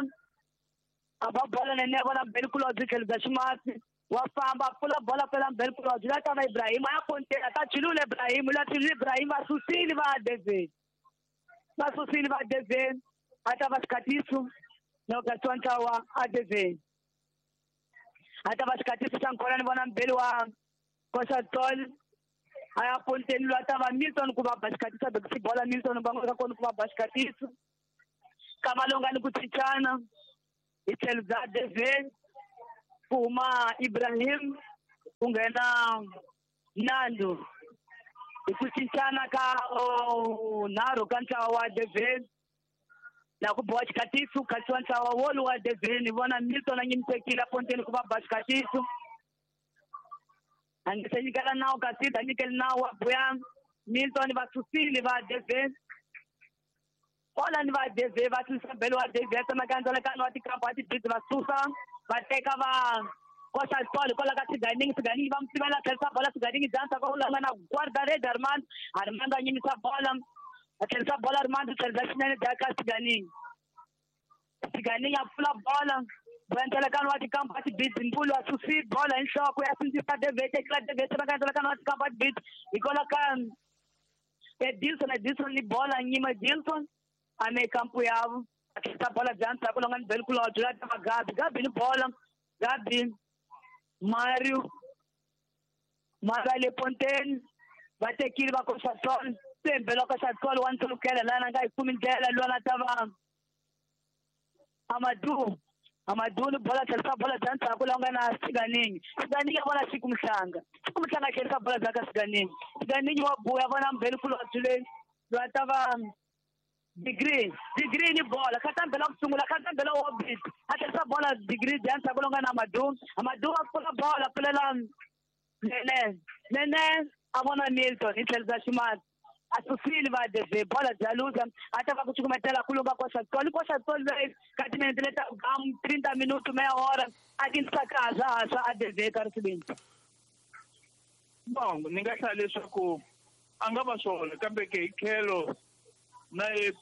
a ba bola Nene vona mbirhi kulobye tlhelo bya ximasi wa famba pfula bola pela mbirhi kulobye la ta va Ibrahim a ya pontela ta chulula Ibrahim la chulula Ibrahim va susile va D V va susile va D V a ta va xikatiso na ku ka ntlawa A D V a ta va xikatiso xa nkona ni vona mbirhi wa Costa do Sol a ya ponteni lwa ta va Milton ku va ba xikhatisa bekisi bola Milton va nga kona ku va ba xikhatisa kamalonga ni ku cincana hi tlhelo bya Devin ku huma Ibrahim ku nghena Nando hi ku cincana ka nharhu ka ntlawa wa Devin na ku boha xikhatisa ku khatisiwa ntlawa wolowo wa Devin hi vona Milton a nyimisekile a ponteni ku va ba xikhatisa a nge se nyikela nawu kasi ta nyikela nawu wa buya Milton va susile va Devin Bola ni va Devin va susa belo wa Devin tsemakanya wa tikampa wa tibidi va susa va teka va Costa do Sol kwala ka Siganingi Siganingi va n'wi sivela tlherisa bola Siganingi dansa ka ulanga na guarda-rede Armando Armando a nyimisa bola a tlherisa bola Armando tlherisa xinene dya ka Siganingi Siganingi a pfula bola Buentelekano wa tikampa wa tibidi Mbulu a susi bola hi nhloko ya sindzisa Devin tekela Devin tsemakanya wa tikampa wa tibidi hi kwala ka Edilson Edilson ni bola nyima Edilson ame kampu yavo a tlherisa bola bya ndzhaku longa ni beli kulobye la ta va Gabi Gabi ni bola Gabi Mario Mario le ponteni va tekile va Costa do Sol se mbelo Costa do Sol wa ntsholukela lana nga yi kumi ndlela lwana ta va Amadou Amadou ni bola tlherisa bola bya ndzhaku la nga na Siganingi Siganingi a vona Siku Mhlanga Siku Mhlanga tlherisa bola bya ka Siganingi Siganingi wa buya vona mbeli kulobye le lwa ta va Degree degree ni bola khatambela ku sungula khatambela orbit a tlherisa bola degree bya ndzhaku longa na Amadou Amadou a pfula bola pfulela Nene Nene a vona Milton hi tlherisa ximati a susile va Devin bola bya luza a ta va ku cukumetela ku lumba Costa do Sol Costa do Sol leyi ka timinete leta gam trinta minuto meia hora a tinsakaza haswa a Devin ka risibini. Bon ni nga hlaya leswaku a nga va swona kambe ke hi tlhelo na ye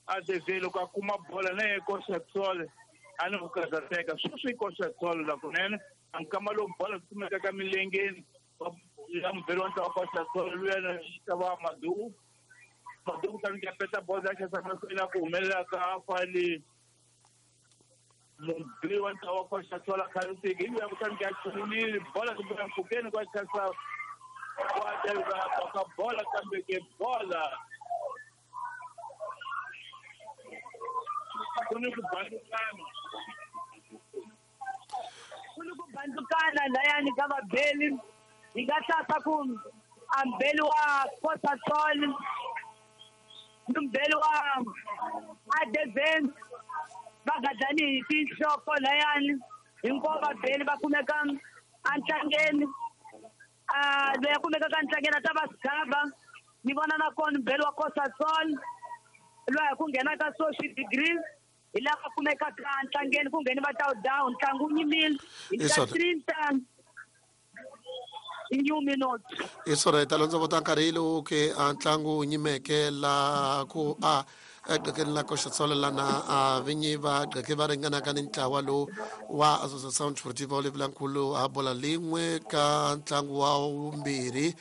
a Devin loko a kuma bola na ye Costa do Sol a ni ku karhateka sweswi Costa do Sol la kunene a nkama lowu bola kumeka ka milengeni ya mubeli wa ntlawa Costa do Sol luya ta va Amadou Amadou kutani ka peta bola ya xasa mahlweni a ku humelela ka fali mubeli wa ntlawa Costa do Sol a khansiki hi luya kutani ka chulile bola kumbe mpfhukeni kwa xasa wa Devin ka bola kambe ke bola ku ni ku bandukana ku ni ku bandukana layani ka vabeli hi nga hlasa ku a mbeli wa Costa do Sol ni mbeli wa Adevin va gadlani hi tinhloko layani hinkwavo vabeli va kumeka entlangeni a loyi a kumeka ka ntlangeni a ta va Sigaba ni vona na kona mbeli wa Costa do Sol loyi a ku nghena ka social degree hi laha va kumekaka ntlangeni ku ngheni va ta down ntlangu wu nyimile hi ta trinta new minutes hi swona hi ta londzovota nkarhi lowu ke a ntlangu wu nyimeke la ku a egqekeni la Costa do Sol lana a vinyi va gqeke va ringanaka ni ntlawa lowu wa Associação Desportiva Olivilankulu a bola lin'we ka ntlangu wa vumbirhi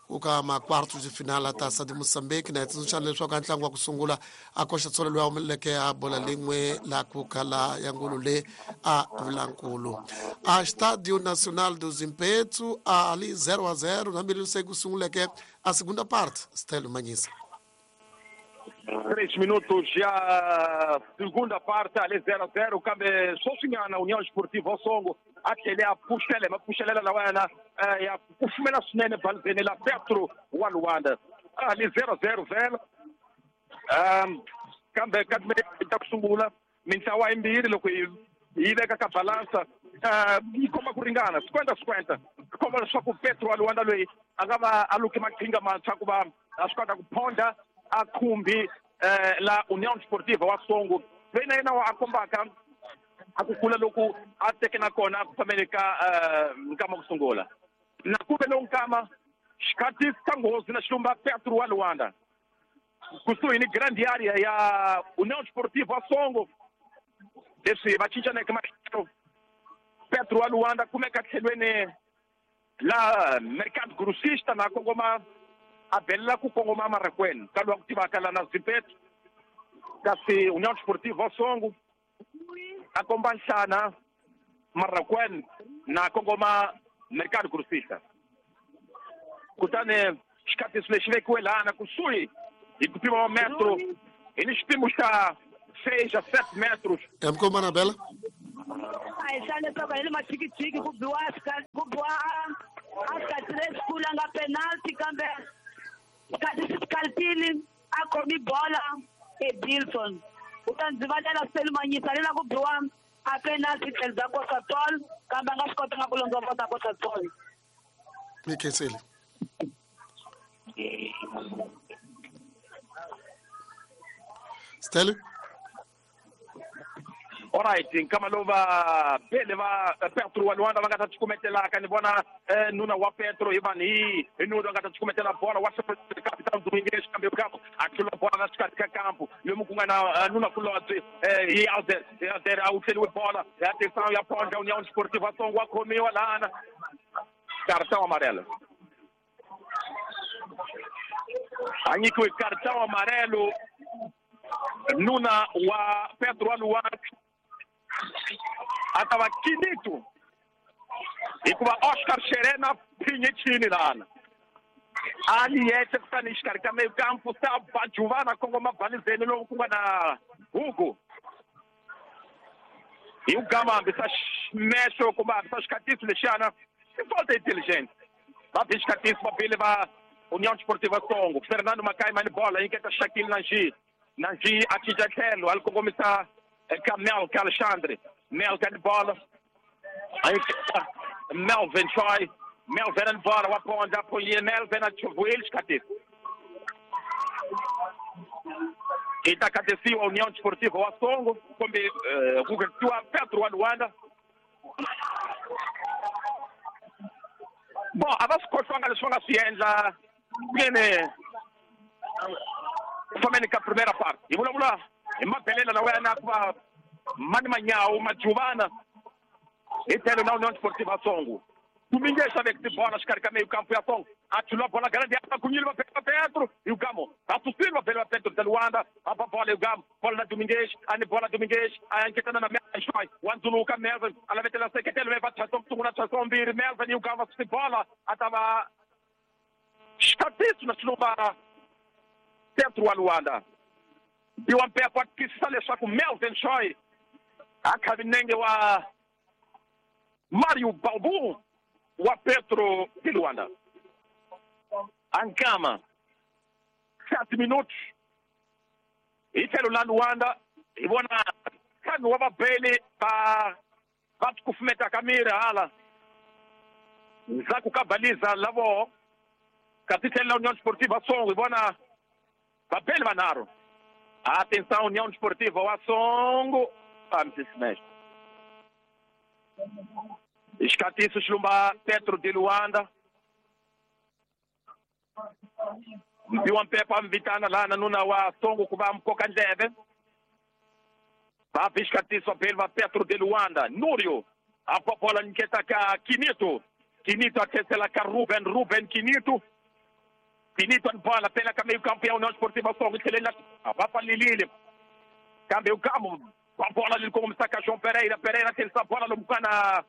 ku ka ma-quartos de finale ta de Moçambique na hi tsundzuxana leswaku a ntlangu wa ku sungula a Costa do Sol loyi a humeleleke a bola lin'we la ku khala ya ngulu le a Vilankulu a Estádio Nacional do Zimpeto ali zero a zero hambileswi se ku sunguleke a segunda parte Stelo Manyisa. Três minutos já, segunda parte, ali zero a zero, kambe sweswinyana União Esportiva Osongo a tlhele a pfuxela mapfuxelela lawayana ya kufumela swinene balzeni la Petro wa Luanda ali zero a zero vhela um kambe ka ta ku sungula mintlawa yimbirhi loko yi yi veka ka balansa yi komba ku ringana cinquenta cinquenta komba leswaku Petro wa Luanda loyi a nga va a luke maqhinga mantshwa ku va a swi kota ku phonda a khumbi la União Desportiva wa Songo loyi na yena a kombaka a ku kula loku a teke na kona a ku fambeni ka nkama ku sungula na ku ve lowu nkama xikhathi xa nghozi na xilumba Petro wa Luanda kusuhi ni grande area ya União Desportiva wa Songo leswi va cincaneke matlhelo Petro wa Luanda kumeka tlhelweni la Mercado Grossista na kongoma a belela ku kongoma Marakweni ka lowa ku tivaka la na Zimpeto kasi União Desportiva wa Songo a komba nhlana Marakweni na kongoma Mercado Grossista. Kutani xikatiso lexi vekiwe lana kusuhi hi ku pima wa metro hi ni xipimo xa seis a sete metros. Mkoma na Bela a hi swa leswaku hi le machikichiki ku biwa ku biwa a sikati lexikulu a nga penalty kambe sikati xi skalpile a khomi bola eBilson u ta ndzi valela Selimanyisa le na ku biwa a penalty tlhelo bya Costa Sol kambe a nga swi kotanga ku londzovota Costa Sol. Ni khensile. Stella. Alright, nkama lowu va bele va Petro wa Luanda va nga ta cukumetelaka ni vona nuna wa Petro hi vanhu hi hi nuna va nga ta cukumetela bola wa capitão Domingues kambe kampo a tlula bola na xikarhi ka kampo lomu ku nga na nuna kulobye hi Alder Alder a wu tlheliwe bola ya atenção ya ponda União Desportiva Songo wa khomiwa lana cartão amarelo a nyikiwe cartão amarelo nuna wa Petro wa Luanda a ta va Quinito hikuva Oscar Xerena phinye chini lana a ni yexe kutani xikarhi ka meyo kampo se a ba juvana kongoma balizeni lowu ku nga na Hugo hi ku gama hambisa ximexo kumbe hambisa xikatiso lexiyana i falta intelligent va bi xikatiso va bile va União Desportiva Songo. Fernando Macaima ni bola nyiketa Shaquille Nanji Nanji a cinca tlhelo a li kongomisa eka Melka Alexandre Melka ni bola Melvin Choi Melvin ni bola wa ponda apoyile Melvin a chuvuile xikatiso i ta katisiwa União Desportiva wa Songo kumbe ku katiwa Petro wa Luanda. Bon, a va swi khohlwanga leswi va nga swi endla kuyene ku fambeni ka primera part hi vulavula hi mabelela lawa ya na ku va mani manyawu majuvana hi tlhelo na União Desportiva Songo Domingues a veka tibola xikarhi ka meio campo ya Songo a tlula bola grande a kunyile va bela Petro hi gamo a susile va bela Petro de Luanda a ba bola hi gamo bola na Domingues a ni bola Domingues a nketana na Melvin wa ndzuluka Melvin a lavetela seketelo va tshasa sungula tshasa mbirhi Melvin hi gamo susi bola a ta va xikatiso na xilumba Petro wa Luanda Biwa Mpepo a twisisa leswaku Melvin Choi a khavi nenge wa Mário Balbu wa Petro de Luanda. Ankama sete minutos hi tlhelo la Luanda hi vona ntlhanu wa vabeli va va kufumetaka miri hala ndzhaku ka baliza la voho kasi tlhelo la União Desportiva Songo hi vona vabeli vanharhu. Atenção União Desportiva wa Songo amsisimexe xikatiso xilumba Petro de Luanda Mbiwa Mpepo a mvitana lana nuna wa Songo ku va mkoka ndleve va bi xikatiso beli va Petro de Luanda Núrio a ba bola nyiketa ka Quinito Quinito a tlhesela ka Ruben Ruben Quinito Quinito ni bola pela ka meio campo ya União Desportiva Songo tlheleni va pfalelile kambe u gamo va bola leri kongomisa ka João Pereira Pereira tlhelisa bola lomu ka na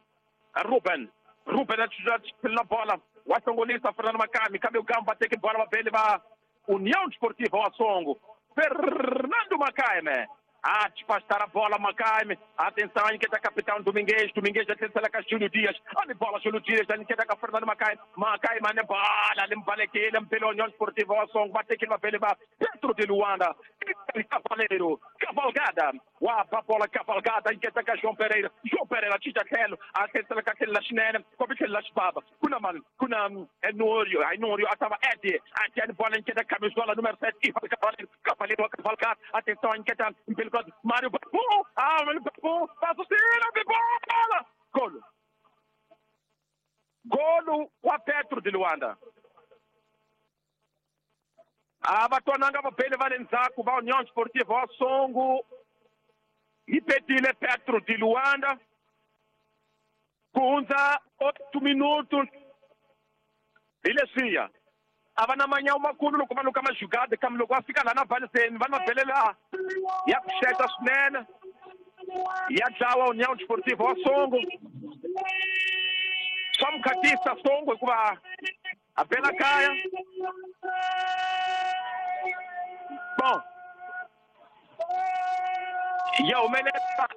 Ruben Ruben a tlhela bola wa hlongolisa Fernando Makami kambe u gamba teke bola va bele va União Desportiva wa Songo Fernando Makaime a despastar a bola Makaime atenção a inquieta capitão Domingues Domingues atenção ka Júlio Dias a bola Júlio Dias a inquieta ka Fernando Makaime Makaime ne bola limbalekile mpele União Desportiva wa Songo va tekile va bele va Petro de Luanda Cavaleiro cavalgada wa bola cavalgada inquieta ka João Pereira João Pereira cinca tlhelo atenção ka tlhelo la xinene kumbe tlhelo la xibaba kuna mani kuna Enório Enório a tava Ed Ed bola inquieta camisola número sete Ivan Cavaleiro Cavaleiro cavalgada atenção inquieta mpele Mário Babu, ah, Mário Babu, passa o sino, bola! Golo. Golo wa Petro de Luanda. A va twananga va bele va le ndzhaku va União Desportiva wa Songo yi petile Petro de Luanda ku hundza oito minutos hi leswiya a va na manyawu makulu loko va luka majugada kambe loko va fika laha na valiseni va na belela ya pfuxeta swinene ya dlawa União Desportiva wa Songo Swa mukhatisa Songo hikuva a bela kaya. Bom, ya humelela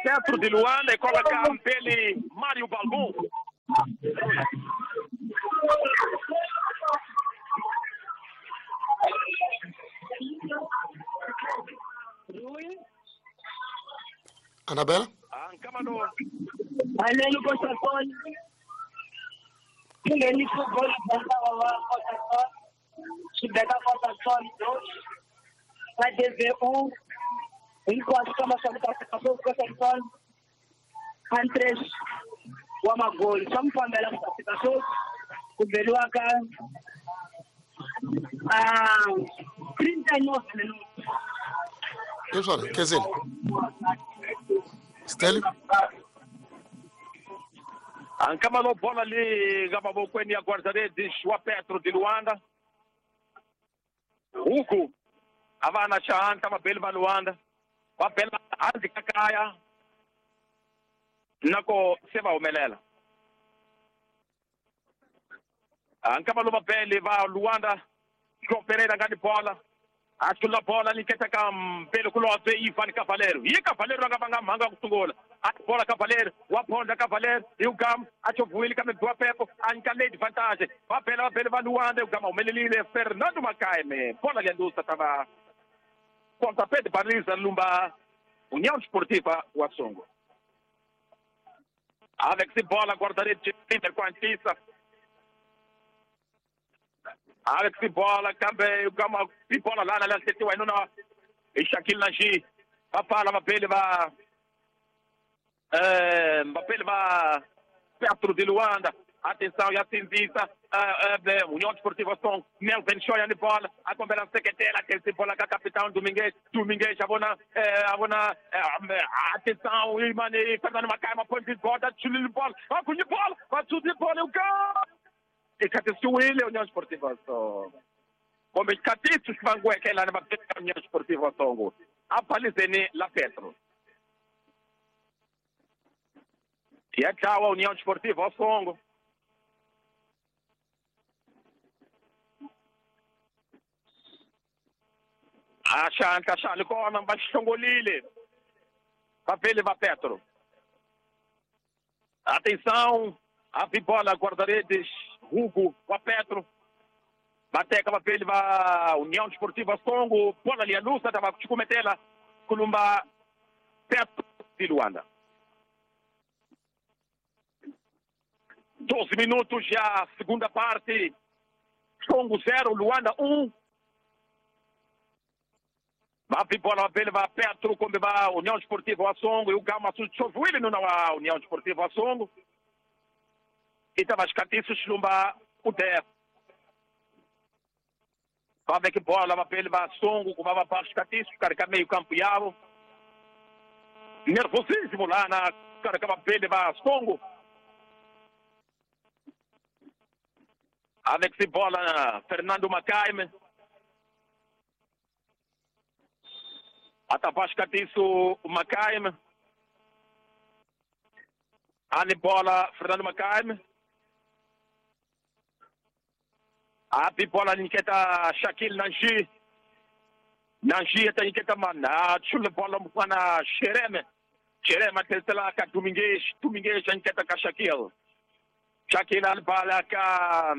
Petro de Luanda e coloca pele Mário Balbum. Anabela? Alelo Costa Sol. Ngeni gol wa Costa Sol. Xibeka Costa Sol dois. A D V um. Enquanto kama swa Costa Sol. Três wa magoli. Swa mfambela ku fika sweswi ku beriwa ka ah trinta e nove minutos. Leswona, Kezile. Steli? Ankama bola ali mavokweni ya guarda-redes wa Petro de Luanda. Hugo a va na xihatla vabeli va Luanda. Va bela hansi ka kaya nako se va humelela. Ankama lo vabeli va Luanda João Pereira nga ni bola. A tlula bola nyiketa ka Mpelo Kulobye Ivan Cavaleiro. Yi Cavaleiro a nga vanga mhanga ku sungula. A bola Cavaleiro, wa phonda Cavaleiro, hi Ugam, a chovuwile kambe biwa Pepo, a nyika late advantage. Va bela va bela va Luanda, Ugam a humelelile Fernando Macaime. Bola liandusa tava pontapé de baliza lumba União Desportiva wa Songo. Alex bola guarda-redes de Quantissa. Alex bola kambe Ugama bola lana la setiwa inona e Shaquille Nanji. Va pala va bele va eh va va Petro de Luanda. Atenção, ya sinzisa eh União Desportiva Songo. Melvin Shoya ni bola a kombela seketela ke bola ka capitão Domingues. Domingues abona eh abona atenção imane Fernando Macaima põe de bola, tchulil bola. Va com bola, va tudo bola o gol. Ikatisiwile União Desportiva Songo. Kumbe xikatiso xi vangiweke lani va União Desportiva Songo. A balizeni la Petro. Ya dlawa União Desportiva Songo. A xantla xa li kona va xihlongolile. Va vele va Petro. Atenção, a bola guarda-redes Hugo wa Petro. Bateka va vele va União Desportiva Songo, bola ali a lusa tava kumetela kulumba Petro de Luanda. doze minutos já, segunda parte. Songo zero, Luanda um. Va bola va va Petro come va União Desportiva Songo e o Gama Suchovuile no na União Desportiva Songo. E tava xikatiso xilumba u def. Va veke bola va pele va Songo ku va va ba xikatiso xikarhi ka meio campo yavo. Nervosismo lá na xikarhi ka vapele va Songo. Alex bola Fernando Macaime. Atapa xikatiso Macaime. Ali bola Fernando Macaime. A bola nyiketa Shaquille Nanji. Nanji ata nyiketa mana chule bola mfana Xereme. Xereme atesela ka Domingues, Domingues nyiketa ka Shaquille. Shaquille albala ka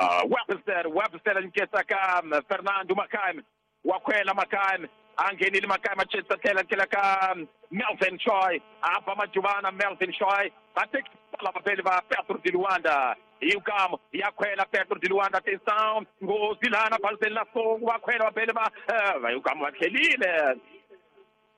uh, Webster, Webster nyiketa ka Fernando Macaime. Wakwela Macaime, angenile Macaime achesa tela tela ka Melvin Choi. Apa Majubana Melvin Choi. Até bola va Petro de Luanda. E o Gamo, e a Quela, Petro de Luanda, atenção, Gozilana, Balzela, Songo, a Quela, Belema, vai o Gamo, aquele,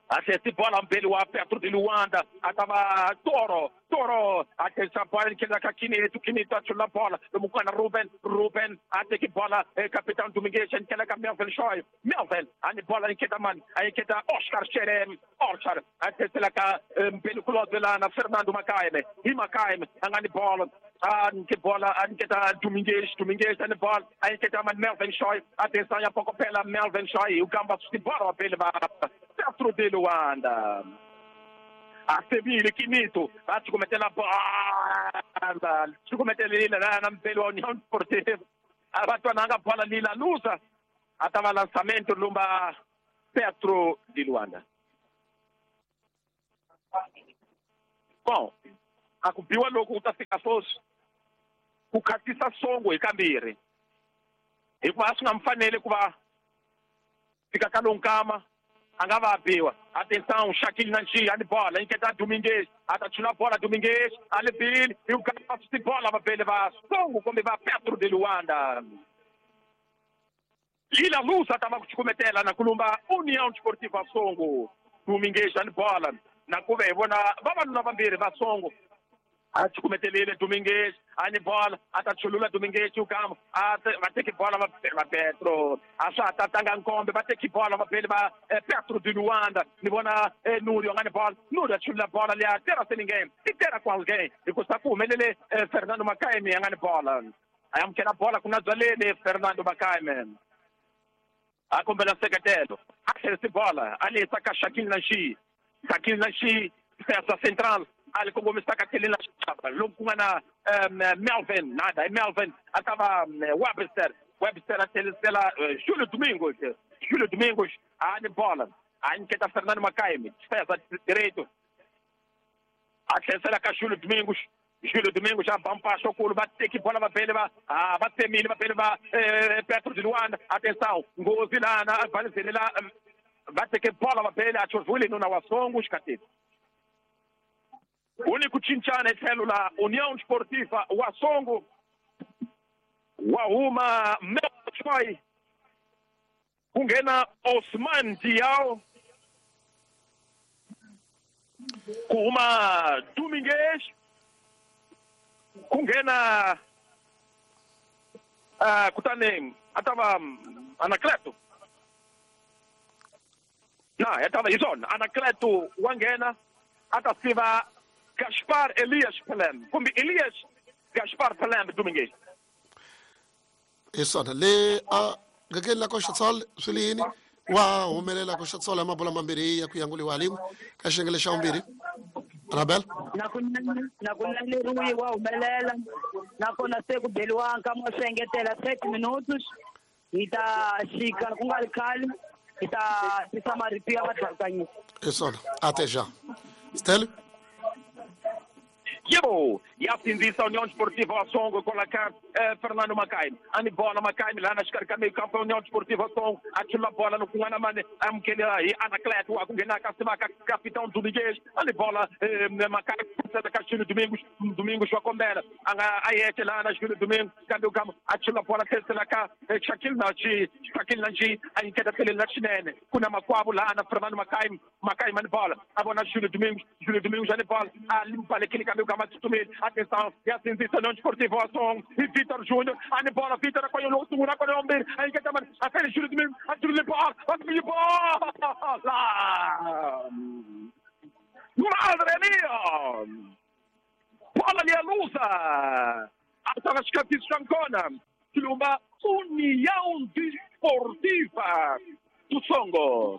Até bola, Belua, Petro de Luanda, atava Toro, Toro, atenção, bola, que da Quinito, Quinito, a bola, Mucana, Ruben, Ruben, até que bola, capitão Domingues, que da Melvin Choi, Melvin, a bola, que da man, aí que da Oscar Xerem, Oscar, até lá, Belo Clodelana, Fernando Macaime, e Macaime, a bola. A que bola, a que tá Domingues, Domingues, a bola, a que tá Melvin Choi, atenção, a pouco pela Melvin Choi, o Gamba se bola pela Petro de Luanda. A sevile Quinito va cukumetela bola cukumetelile lana mpeli wa União Desportiva a va twananga bola lila lusa a ta va lançamento lumba Petro de Luanda. Bom, a ku biwa loko ku ta fika sweswi ku khatisa Songo hi kambirhi hikuva a swi nga mi fanele ku va fika ka lowu nkama a nga va a biwa. Atenção, Shaquille Nanchi, ali bola, inquieta Domingues, atachula bola Domingues, ali Bill, e o cara de bola va bele va Songo come va Petro de Luanda. Lila Lusa tava kuchukumetela na kulumba União Desportiva Songo. Domingues ali bola, na kuve vona vavanuna vambirhi va Songo. A chukumetelile Domingues, ani bola, atachulula Domingues ukama, a va teki bola va va Petro, a swa tatanga nkombe va teki bola va bele va Petro de Luanda, ni vona Núrio ngani bola, Núrio achulula bola liya tera sem ninguém, e tera com alguém, e custa ku humelele Fernando Macaime ngani bola. Ayamukela bola kuna dzwaleni Fernando Macaime. A kombela nseketelo, a tlherisi bola, a lehisa ka Shaquille Nanchi, Shaquille Nanchi, defesa central, ali kongomisa ka tlhelo la xaba loku ku nga na Melvin, nada, Melvin a ta va Webster, Webster a tlherisela Júlio Domingos, Júlio Domingos a ni bola, a nyiketa Fernando Macaime, defesa direito, a tlherisela ka Júlio Domingos, Júlio Domingos já ba mpaxo kulu va teki bola va bele va ah va temile va bele va Petro de Luanda. Atenção, nghozi lana valizele la va teke bola va bele a chovule nuna wa Songo xikatini. Único cincana hi tlhelo la União Desportiva wa Songo wa huma Melchoi ku nghena Osman Diao ku huma Domingues ku nghena uh, kutani a ta va Anacleto na ya ta va hi swona Anacleto wa nghena a ta siva Gaspar Elias Pelem kumbe Elias Gaspar Pelem Domingues. Hi swona le a gakeni la Costa Sol swi le yini wa humelela Costa Sol ya mabola mambirhi ya ku yanguliwa rin'we ka xiyenge xa vumbirhi. Rabel na ku na ku naleriwi wa humelela nakona se ku beliwa nkama wa swi engetela thirty minutos hi ta xika ku nga ri khale hi ta tisa marito ya vatlhakanyisi. Hi swona até já. Stélio. Yebo, yasindzisa União Desportiva Songo colocar eh, Fernando Macaime. Ani bola Macaime lá na escarca meio campo União Desportiva Songo, atila bola no kunwana mane amukela hi Anacleto wa kunghena ka sivaka capitão Domingues. Ani bola eh, Macaime da Castilho Domingos, Domingos wa kombela. Anga ayete lá na Júlio Domingos, kambe ukama atila bola tesela ka eh, Shaquille Nanchi, Shaquille Nanchi ayinketa tlhelo la xinene. Kuna makwavo lá na Fernando Macaime, Macaime ani bola. Abona Júlio Domingos, Júlio Domingos ani bola. Alimpalekile kambe ukama atenção, yasindzisa União Desportiva Songo e Vitor Júnior, ani bola, Vitor apanhou o segundo, apanhou o meio, aí que tá a Júlio Domingos, a Júlio bola, a bola! Madre mia! Bola ali a lusa! Atrás Chancona, uma União Desportiva do Songo.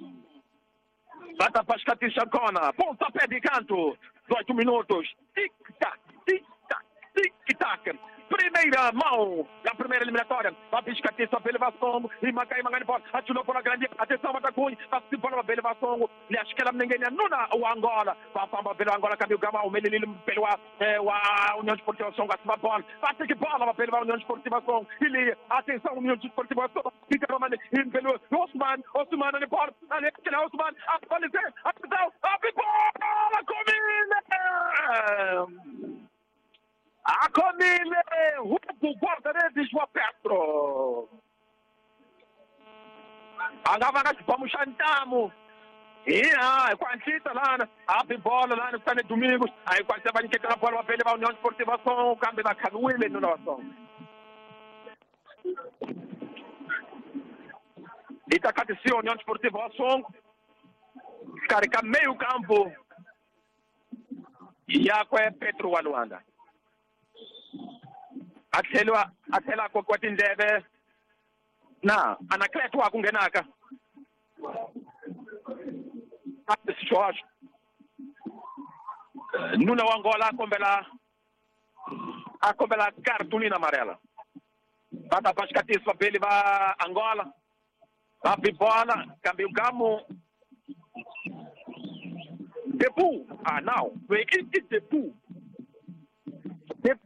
Bata para Chancona, pontapé de canto. dezoito minutos, tic-tac, tic-tac, tic-tac. Primeira mão da primeira eliminatória. Vai piscar só pelo Vascongo. E Macaí Mangani bola. Atirou bola grande. Atenção, Matacunha. Passa bola pelo Vascongo. Lhe ninguém nuna o Angola. Vai pelo Angola. Caminho Gama. O Melililo pelo a União Desportiva Songo. Acima bola. Bate que bola pelo União Desportiva Songo. Ele, atenção, União Desportiva Songo. Fica Romani. Pelo Osman. Osman ali bola. Ali, Osman. Apareceu. Atenção. A bola comida. A Comile, Hugo, guarda-redes wa Petro. Angava nga xibamu xa ntamu. Iya, hi ku hatlisa lana, a bi bola lana kutani Domingos, a hi ku hatlisa va nyiketela bola va vele va União Desportiva Songo, kambe va khaviwile nuna wa Songo. Yi ta khatisiwa União Desportiva wa Songo, xikarhi ka meio campo yakwe Petro wa Luanda. A tlhela a tlhela a kokiwa tindleve na Anacleto wa ku nghenaka xihoxo Nuna wa Angola a kombela a kombela cartolina amarela. Va ta ba xikatiso vabeli va Angola. Va bi bola kambe ugamu Depu. Ah, não. I, i Depu.